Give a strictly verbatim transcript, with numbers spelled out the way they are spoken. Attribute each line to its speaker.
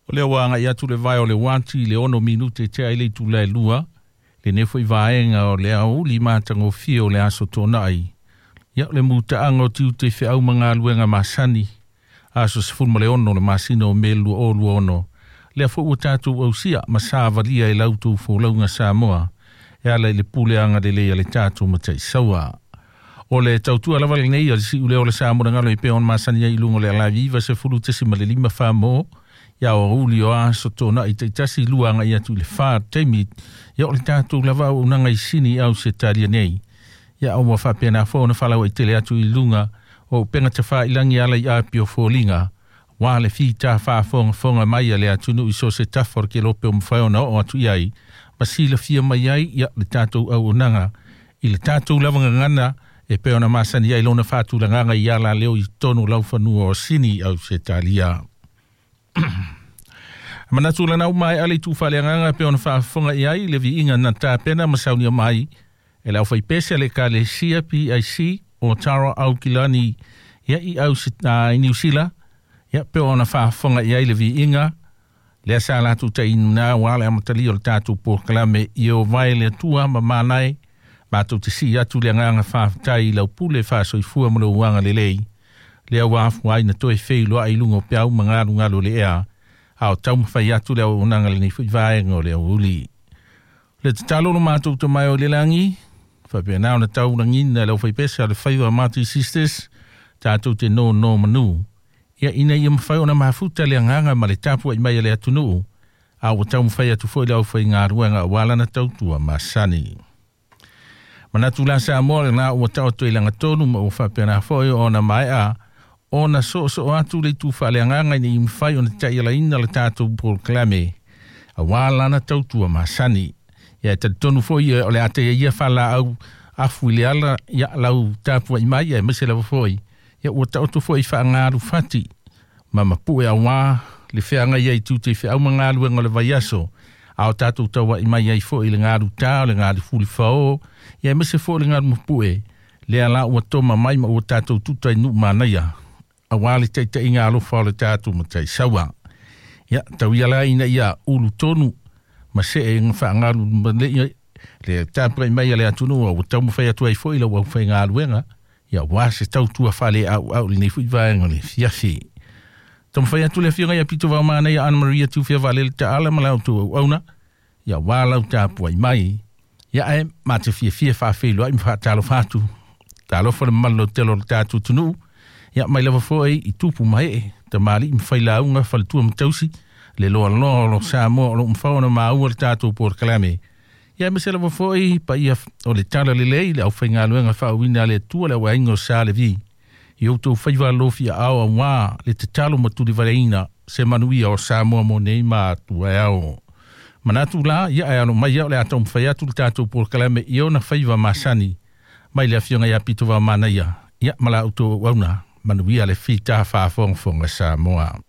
Speaker 1: O lea ua agai atu le vae o le uati i le ono minute tea i le itula e lua, lenei foi vaega o le aoauli matagofie o le aso Toonai. Ia o le mutaaga o tiute i feau ma galuega masani, aso sefulu ma le ono o le masina o Me lua o lua ono. Lea foi ua tatou ausia ma savalia i la outou folauga Samoa, e ala i le pule agalelei a le tatou Mataisaua. O le tautua lava lenei a le siuleo o le Samoa galo e pei ona masani ai i luga o le Alaviva sefulu tesima le lima fa mo, ia aoauli o aso Toonai taitasi lua agai atu i le fa taimi, ia o le tatou lava auaunaga i Sini au se talia nei. Ia ua faapena foi ona faalauaitele atu i luga o upega tafailagi ala i api o foliga, ua le fita faafogafoga mai a le atunuu i so o se tafa o le kelope o mafai ona oo atu i ai, ma silafia mai ai ia le tatou auaunaga i le tatou lava gagana e pei ona masani ai lona faatulagaga i ala leo i totonu o laufanua o Sini au Setalia. Manatu lana uma e ale i tuufaaleagaga e pei ona faafofoga i ai le viiga na tapena ma saunia mai e le aufaipese a le Ekalesia P I C o Tara Aukilani ia i au i Niu Sila, ia pe ona faafofoga i ai le viiga lea sa latou tainuna ua le amatalia o le tatou polokalame i o vae le Atua ma manae matou te sii atu le agaga faafetai i lau pule faasoifua ma lou agalelei lea ua afua ai na toe feiloai i luga o peau ma galugalu o le ea a o taumafai atu le auaunaga lenei foi vaega o le aoauli. Le tatalo lo matou tamae o le lagi, faapena ona taulagina e le aufaipese a le faiva Marty Sisters, tatou te nono manu. Ia ina ia mafai ona mafuta le agaga ma le tapuai mai a le atunuu, a ua taumafai atu foi le aufaigaluega aua lana tautua masani. Manatu la Samoa lena ua taoto i lagatonu ma ua faapena foi ona maea ona soosoo atu le itu faaleagaga ina ia mafai ona taialaina le tatou polokalame aua lana tautua masani. Ia e talitonu foi o le a teia ia faalaau afu i le ala ia lau tapuai mai aemaise lava foi ia ua taoto foi i faagalu fati ma mapue aua le feagai ai tiute i feau ma galuega o le vaiaso a o tatou tauai mai ai foi i le galu tā o le galu fulifao ia aemaise foi le galu mapue lea la ua toma mai ma ua tatou tuta i nuu manaia aua le taitaiga alofa o le tatou Mataisaua. Ia tau ia la ina ia ulu tonu ma see ga faagalu ma le le tapuai mai a le atunuu ua taumafai atu ai foi lau aufaigaluega ia ua se tautua faaleauau lenei foi vaega o le afiafi. Taumafai atu le afioga ia Pito Vaomanaia Anna Maria Tiufea Vaalele Taala ma la outou auauna ia ua lau tapuai mai ia ae ma te fiafia faafeiloai ma faatalofa atu. Talofa le mamalu lautele o le tatou atunuu ia mai lava foi i tupu ma ee tamalii ma failauga faletua ma tausi le loaloa o lo Samoa o loo mafai ona maua le tatou polokalame. Ia aemaise lava foi paia o le tala lelei le aufaigaluega faauuina a le Atua le auaiga o Sa Levi i outou faiva alofi aao aua le tatalo ma tulivaleina se manuia o Samoa mo nei ma atua e ao. Manatu la ia ae alo mai ia o le a taumafai atu le tatou polokalame i ona faiva masani mai le afioga ia Pito Vaomanaia ia ma la outou auauna manuia le fita faafogafoga Samoa.